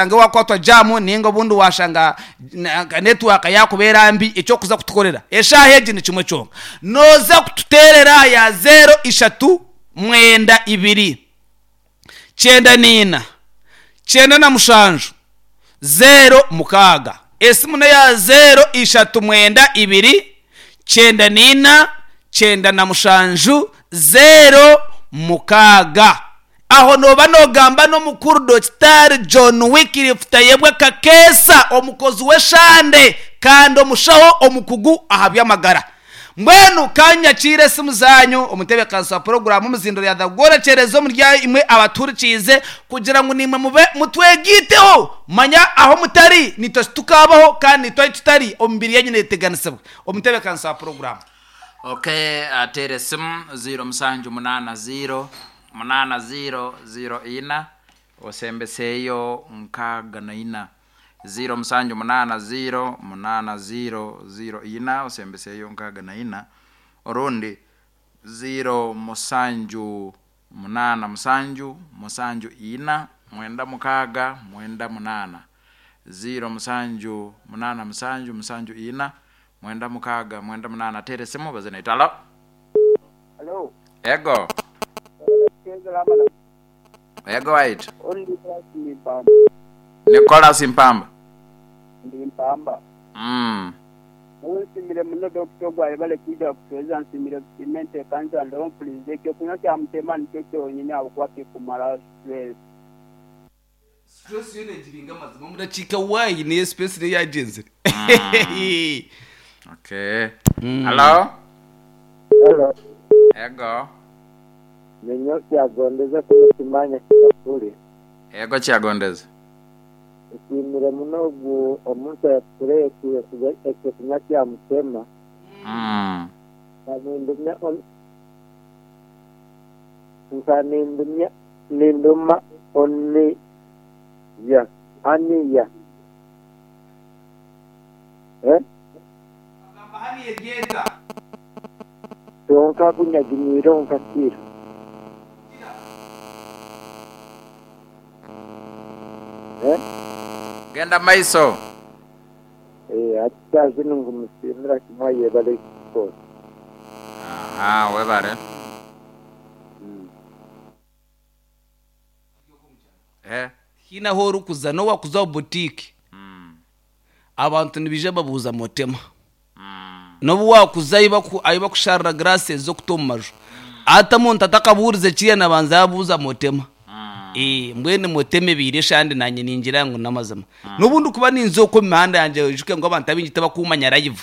Oshange waakwatwa jaamu nainga obundi waashanga nka netiwaaka yaakubeera mbi, eki orikuza kutukorera eshaaha egi ni kimwe kyonka. Nooza kututeerera aha ya zeero ishatu mwenda ibiri kyenda naina kyenda na mushanju zeero mukaaga. Esimu n'eya zeero ishatu mwenda ibiri kyenda naina 97 06. Aho nooba noogamba n'omukuru Dokitaari John Wycliffe Tayebwa Kakeesa, omukozi w'eshande kandi omushaho omukugu aha by'amagara. Mbwenu ka nyakiire esimu zaanyu omu ntebeekanisa wa puroguraamu Omuzindo rya The Gworekyereza omuri imwe abatuhurikiize kugira ngu naimwe mube mutwegaiteho. Manya aho mutari naitwe titukaabaho kandi naitwe ahu tutari emibiri yaanyu neeteganisibwa. Omu ntebeekanisa wa puroguraamu. Ok ateera esimu ziiro musanju munaana ziiro munaana ziiro ziiro ina osembeseeyo nkaaga na ina. Ziiro musanju munaana ziiro munaana ziiro ziiro ina osembeseeyo nkaaga na ina orundi ziiro musanju munaana musanju musanju ina mwenda mukaaga mwenda munaana. Ziiro musanju munaana musanju musanju ina Mwenda mukaaga mwenda munaana teera esimu obaze naitwe. Halo. Halo. Ego. Ego waitu. Oli Nicholas ndi Mpamba. Nicholas Mpamba. Ndi Mpamba. Mm. Nyowe nsiimire muno Dokita ogu ayebale kwija kutuheereza nsiimire kusiima enteekaniza ndoho mpuliize ekyokunywa kya Mutema nikyo kyonyini ahabw'okuba kikumaraho stress. Stress yoona egiringa amazima omu dakiika y niyo space niyo yagyenzire. Okay. Halo. Halo. Ego. Ninyowe Kyagondeza kuno Kimanya Kikafuli. Ego Kyagondeza. Nsiimire muno ogu omuntu ayatukureetiire ekyokunywa kya Mutema. Nka nindumya Ninduma oniya, aniya, eh. Agamba haniya eryeta. Kyonka ku nyaginyiireho nkakira. Eh. Genda maiso. Eh, hati saaha zinu ngumusiimira kimwe ayebare kukora. Aha, webare. Tihaine ahu orikuza n'obu waakuza omu butiiki, abantu nibaija babuuza motema. N'obu waakuza ahu bakusharira giraasi z'okuta omu maju, hati omuntu atakabuurize kiriya naabanza yaabuuza motema. Mbwenu motema ebaire eshande naanye ningira ngu n'amazima. N'obu ndikuba ninza okwo omu mihanda yangye oijuke ngu abantu abaingi tibakumanya live.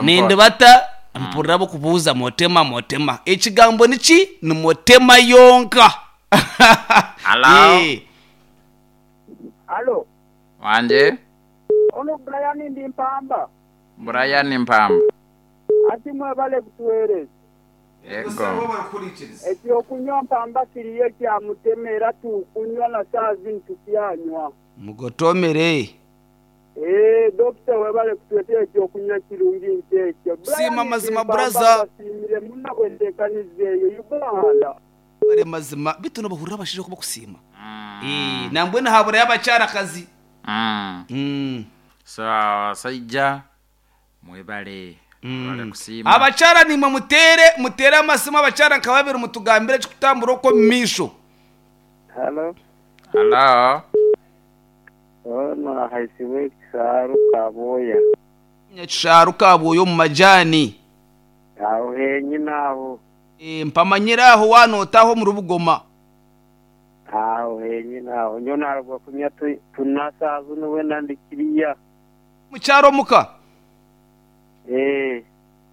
Nindibata mpurira abarikubuuza motema motema. Ekigambo niki? Ni motema yonka. Halo. Halo. Wangi. Ono Brian ndi Mpamba. Brian Mpamba. Ati mwebale kutuwereza. Ego. Ekyokunywa Mpamba kiriyo ekya Mutema era tukunywa na saaha zinu tukyanywa. Mugotomere. Eeh Dokita webale kutuletera ekyokunywa ekirungi nk'ekyo. Kusiima Brian mazima Mpamba buraza. mbasiimire muno ahabw'enteekaniza eyo. Uganda. Webare mazima beitu nobahurira abashaija oku bakusiima. Nambwenu haburayo abakyarakazi. So abasaija mwebale mwebale kusiima. Abakyara naimwe muteere muteere amasimu abakyara nka babiri mutugambire ekikutambura okwo omu maisho. Halo. Halo. Ono ahaisibwe ekisaaru Kabwoya. Nyakishaaru Kabwoya omu majaani. Aho henyine aho. Mpamanyire aho waanoota aho omuri Bugoma. Aho henyine aho. Nyowe naruga kunywa tuna saaha zinu weena ndi kiriya. Mukyara omuka? Ee.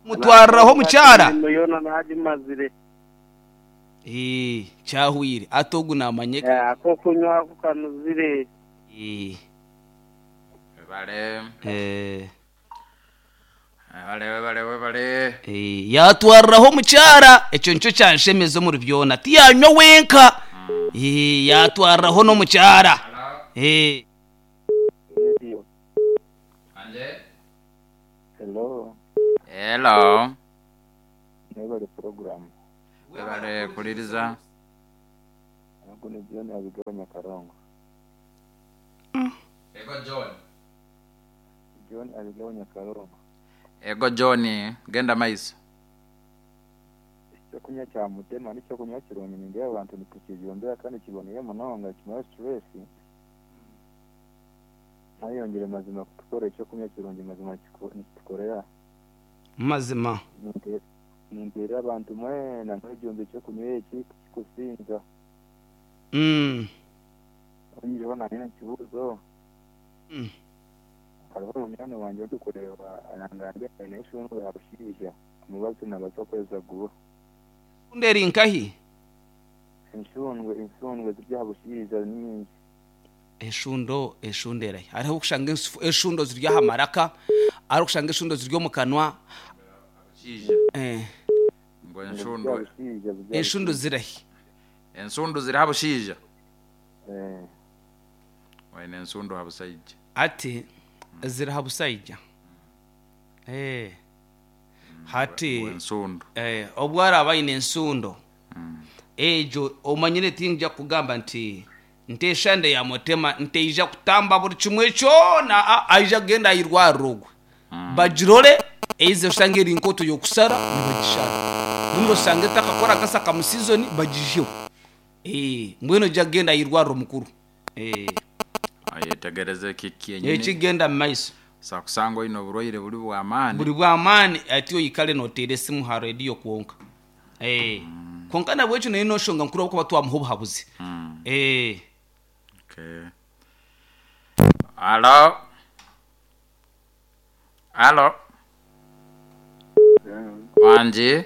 Mutwariraho omukyara? Emirimo yoona naagimazire. Ee, kyahweire. Hati ogu naamanya eka. Ak'okunywa ako kanuzire. Ee. Webale. Ee. Webale, webale, webale. Ee, yaatwariraho omukyara. Ekyo nikyo kyanshemeza omuri byona. Tiyaanywa wenka. Ee, yaatwariraho n'omukyara. Ee. Radio. Hello. Hello. Mwebale program. Webale kuliriza. Ogu ni John Abigaba Nyakarongo. John. John Abigaho Nyakarongo. Ego John, genda maiso. Ekyokunywa kya mutema n'ekyokunywa kirungi nindeeba abantu nitukijumbira kandi kiboneye munonga kimara stress. Ntayongere mazima kutukora ekyokunywa kirungi mazima nikitukorera. Mazima. Ninteerera abantu mwena mwejumbe ekyokunywa eki tikikusinza. Oyihireho nanye ekibuuzo. Hariho munywani wangye orikureeba arangambira aine enshungu ya bushaija omubazi nabaasa kukozesa guuha. Enshungu eri nkahi? Enshungu enshungu ziri aha bushaija ni nyingi. Eshundo eshundo erahi? Hariho okushanga eshundo ziri aha maraka, hariho okushanga eshundo ziri omu kanwa. Bushaija. Eh. Ngu enshundu. Enshundu zirahi? Ensundu ziri ha bushaija. Eh. Oine ensundu ha busaija. Ati ziri ha busaija. Eh. Hati Ngu ensundu. Eh, obu araaba aine ensundo egyo omanyire tingya kugamba nti nti eshande ya mutema nteija kutamba buri kimwe kyona a aija kugenda aha irwariro ogwe bagirore eize oshange eri nk'oto y'okushara nibagishara obundi oshange etakakora akasa mu season bagiiheho eh mbwenu oija kugenda aha irwariro mukuru eh. Ayetegereze eki kyenyini. Ekigenda mu maiso. Osobola kusanga oine oburwaire buri bw'amaani. Buri bw'amaani ati oikare nooteera esimu ha rediyo kwonka. Eeh. Kwonka nabwekyo nayo n'enshonga nkuru ahabw'okuba twamuha obuhabuzi. Eeh. Okay. Halo? Halo? Wangi?